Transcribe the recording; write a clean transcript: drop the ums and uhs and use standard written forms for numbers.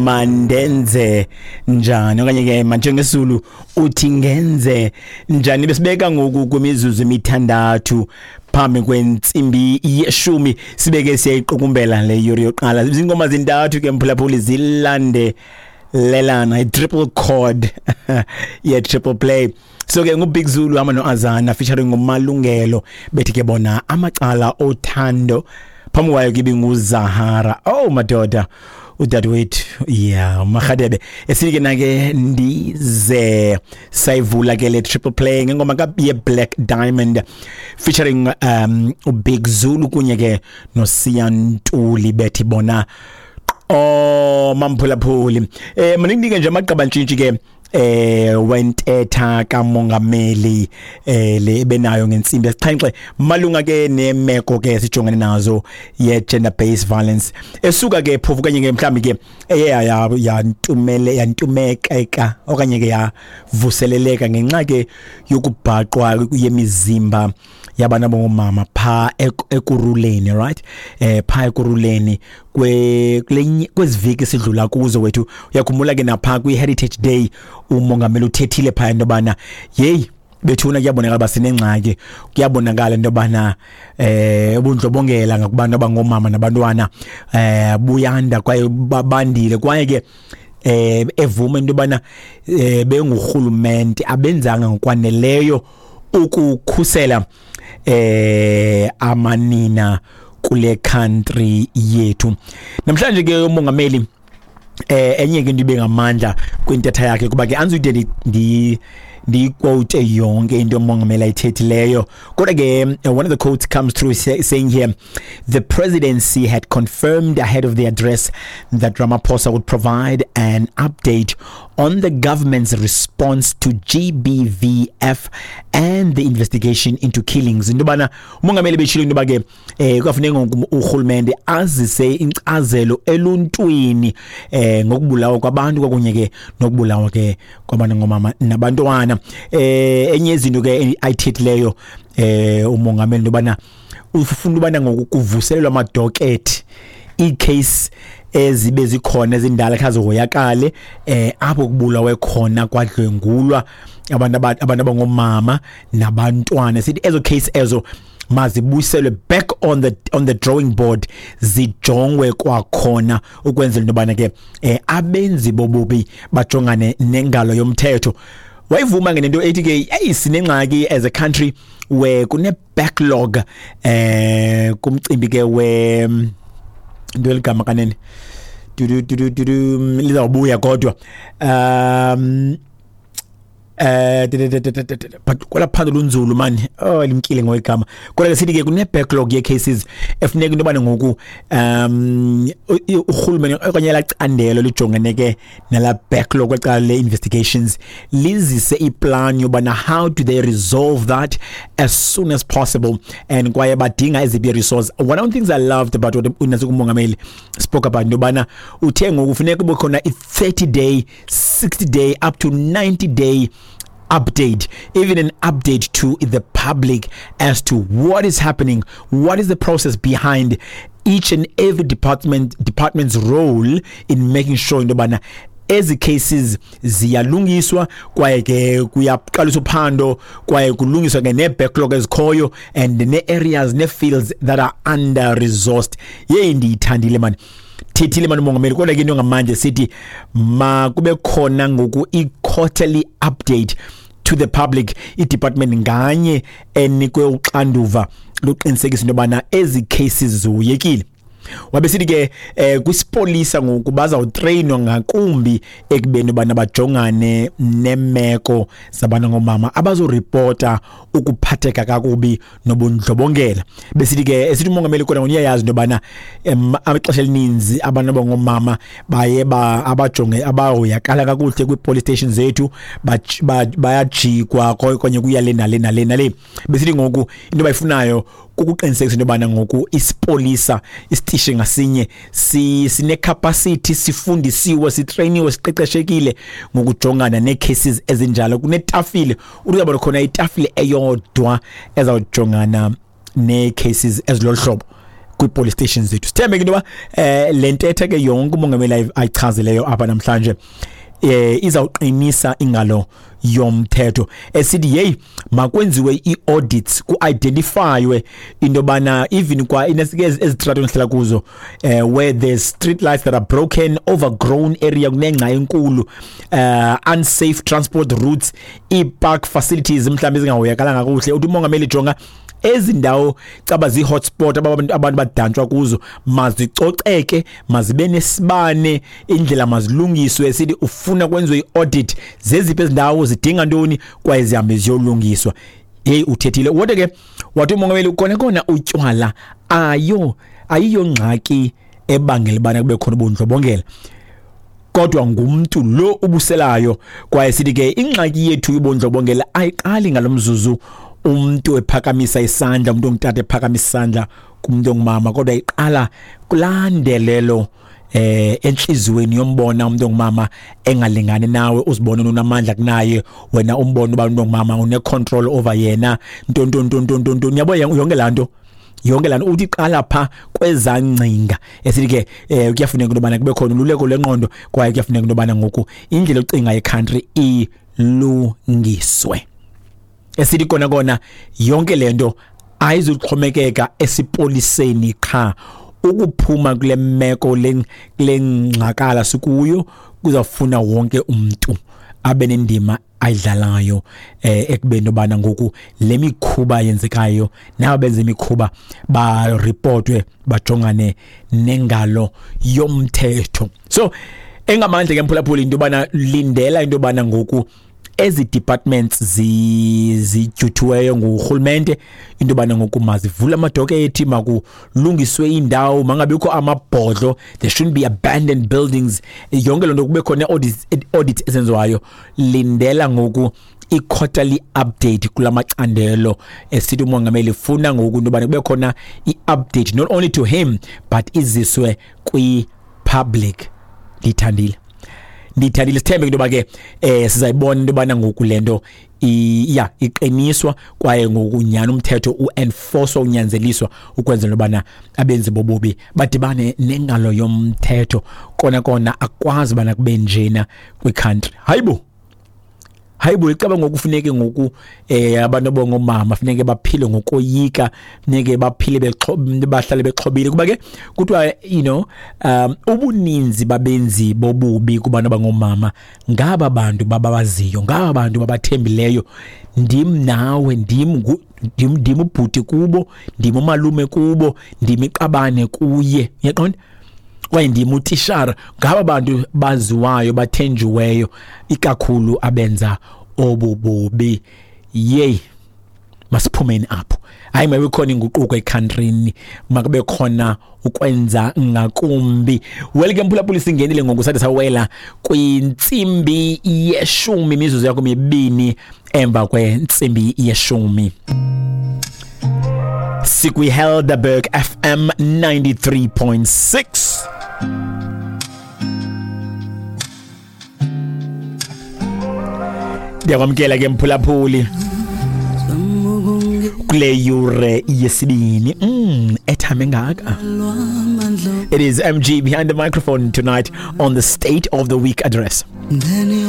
Mandenze njani okanye ke manjengesulu uthi ngenze njani? Besibeka ngoku kwimizuzu emithandathu phambi kwentsimbi yeshumi, sibeke siyayiqukumbela le yuri yoqala. Zingoma zintathu ke, mphulaphuli, zilandelelana, i-triple chord ye-triple play. So ke nguBig Zulu hamba noAzana featuring nguMalungelo, bethi ke bona Amacala Othando. Phambi kwayo ke ibinguZahara, oh madoda, udadewethu yeah, uMarhadebe, esike nake ndize. Sayivula ke le triple play ngengoma ka ye Black Diamond featuring uBig Zulu kunye ke noSiyantuli, bethi bona oh mamphulaphuli. Maningi nje amagqabantshintshi ke wentetha kamongameli le ebenayo ngentsimbi yesixhenxe malunga ke nemeko ke sijongene nazo ye gender based violence, esuka ke phofu kanye ke mhlambi ke eye yantumele yantumekeka okanye ke yavuseleleka ngenxa ke yokubhaqwa yemizimba yabantu abangomama pha Ekurhuleni, right, pha Ekurhuleni kwe kweziviki sidlula kuzo wethu. Uyakhumbula ke napha kwi Heritage Day umongameli uthethile pha into bana hey bethuna, kuyabonakala basinengxaki, kuyabonakala into yobana ubundlobongela ngakubantu abangomama nabantwana buyanda kwaye babandile, kwaye ke evuma into yobana bengurhulumente abenzanga ngokwaneleyo ukukhusela amanina kule country yethu. Namhlanje ke umongameli enye ke into ibe ngamandla kwintetha yakhe, kuba ke anzude ndi ndiyiquote yonke into umongameli ayithethileyo, kodwa ke one of the quotes comes through saying here, "The presidency had confirmed ahead of the address that Ramaphosa would provide an update on the government's response to GBVF and the investigation into killings." Into yobana umongameli beshilo into yoba ke kuyafuneka ngoku urhulumente azise inkcazelo eluntwini ngokubulawa kwabantu kwakunye ke nokubulawa ke kwabantu ngomama nabantwana. Enye izinto ke ayithethileyo umongameli into yobana ufuna ubana ngoku kuvuselelwa amadokethi, ii-case ezibe zikhona ezindala khazihoyakale, apho kubulawe khona kwadlwengulwa abantu abangomama nabantwana. Sithi ezo case ezo mazibuyiselwe back on the drawing board, zijongwe kwakhona ukwenzela into yobana ke abenzi bobubi bajongane nengalo yomthetho. Wayivuma ke nento ethi ke hey, sinengxaki as a country where kune backlog kumcimbi ke we into eligama kanene dudu dudu dudu lizawubuya, kodwa but kwela phando lunzulu mani, oh, limkile ngoyigama. Kodwa ke sithi ke kune backlog ye cases efuneka into yobana ngoku urhulumente okanye lacandelo lijongene ke nala backlog kwecala le investigations lizise iplan yobana how do they resolve that as soon as possible and kwaye badinga eziphi resource. One of the things I loved about what unasi umongameli spoke about, into yobana uthe ngoku funeka kube khona i-30 day, 60 day, up to 90 day update, even an update to the public as to what is happening, what is the process behind each and every department's role in making sure into yobana ezi cases ziyalungiswa, kwaye ke kuyaqaliswa uphando, kwaye kulungiswa ke nee-backlog ezikhoyo and nee-areas, nee-fields that are under resourced. Yeyi, ndiyithandile mani, thethile mani umongameli. Kodwa ke into ngamanje sithi makube khona ngoku i-quarterly update to the public, i-department nganye enikwe uxanduva luqinisekisa into yobana ezi cases zihoyekile. Wabe sithi ke kwisipolisa ngoku bazawutreyinwa ngakumbi ekubeni bana bajongane nemeko zabantu ngomama abazoripota ukuphatheka kakubi nobundlobongela. Besithi ke, esithi umongameli kodwa uyayazi into yobana ixesha elininzi abantu abangomama baye ba abajonge abahoyakala kakuhle kwii-police station zethu, bayajikwa konye kuya le nale nale nale. Besithi ngoku into abayifunayo kukuqinisekisa into yobana ngoku isipolisa, isitishi ngasinye sine-capacity, sifundisiwe, sitreyiniwe, siqeqeshekile ngokujongana nee-cases ezinjalo. Kunetafile, uzawuba khona itafile eyodwa ezawujongana nee-cases ezilolu hlobo. kwi-police stations zethu. Sithembe ke into yoba le ntetha ke yonke umongameli ayichazileyo apha namhlanje izawuqinisa ingalo yomthetho, esithi hey, makwenziwe i-audits, ku-identifywe into yobana even kwa ezitratweni sihlala kuzo, where there's street lights that are broken, overgrown area, kunengca enkulu, unsafe transport routes, ii-park facilities mhlawumbi ezingahoyakalanga kakuhle. Uthi umongameli, jonga ezi ndawo caba zii-hotspot, abantu badantshwa kuzo, mazicoceke, mazibe nesibane, indlela mazilungiswe. Sithi ufuna kwenziwe i-audit, zeziphi ezi ndawo, zidinga ntoni, kwaye zihambe ziyolungiswa. Heyi, uthethile. Kodwa ke wathi umongameli, kona kona utywala ayo ayiyo ngxaki ebangela ubana kube khona ubundlobongela, kodwa ngumntu lo ubuselayo. Kwaye sithi ke ingxaki yethu yobundlobongela ayiqali ngalomzuzu umuntu ephakamisa isandla, umuntu ongutata ephakamisa isandla kumuntu ongumama, kodwa iqala kulandelelo enhlizweni yombona umuntu ongumama engalingani nawe, uzibona unamandla kunaye wena, umbona uba umuntu ongumama une control over yena, nto nto nto nto nto nto, yabo, yonke lanto, yonke laa nto. Uthi qala pha kwezangcinga. Esithi ke kuyafuneka into yobana kube khona ululeko lwengqondo, kwaye kuyafuneka into yobana ngoku indlela yokucinga yecountry ilungiswe. Esithi kona kona yonke le nto ayizuxhomekeka esipoliseni qha. Ukuphuma kule meko, kule ngxakala sikuyo, kuzawufuna wonke umntu abe nendima ayidlalayo ekubeni obana ngoku le mikhuba yenzekayo, nabo benza imikhuba baripotwe, bajongane nengalo yomthetho. So engamandla ke, mphulaphuli, into yobana lindela into yobana ngoku ezi departments zijuthiweyo ngurhulumente into yobana ngoku mazivule amadokethi, makulungiswe iindawo, mangabikho amabhodlo, there shouldn't be abandoned buildings, yonke loo nto, kube khona audit ezenziwayo. Lindela ngoku i-quarterly update kula macandelo. Esithi umongameli funa ngoku into yobana kube khona i-update, not only to him but iziswe kwi-public. Ndithandile, ndithandile. Sithembe into yoba ke sizayibona into yobana ngoku le nto ya iqiniswa, kwaye ngoku nyhani umthetho uenforcwa, unyanzeliswa, ukwenzela ubana abenzi bobubi badibane nengalo yomthetho. Kona kona akwazi ubana kube njena kwicountry. Hayibo, hayibo, icaba ngoku funeke ngoku abantu abangomama funeke baphile ngokoyika, funeke baphile bahlale bexhobile, kuba ke kuthiwa ubuninzi babenzi bobubi kubantu abangomama ngaba bantu bababaziyo, ngaba bantu babathembileyo. Ndim nawe, ndim ubhuti kubo, ndim umalume kubo, ndim iqabane kuye, uyaqonda, kwaye ndim utishara. Ngaba bantu baziwayo, bathenjiweyo ikakhulu abenza obu bubi. Yeyi, masiphumeni apho. Hayi, mabe khona inguquko ecountryni, makube khona ukwenza ngakumbi. Well ke, mphulaphuli, singenile ngoku, sathi sawela kwintsimbi yeshumi, imizuzu yakho mibini emva kwentsimbi yeshumi. Sikwi-Helderberg FM 93.6. Ndiyakwamkela ke, mphulaphuli, kule yure yesibini ethame ngaka. It is MG behind the microphone tonight on the State of the Week Address.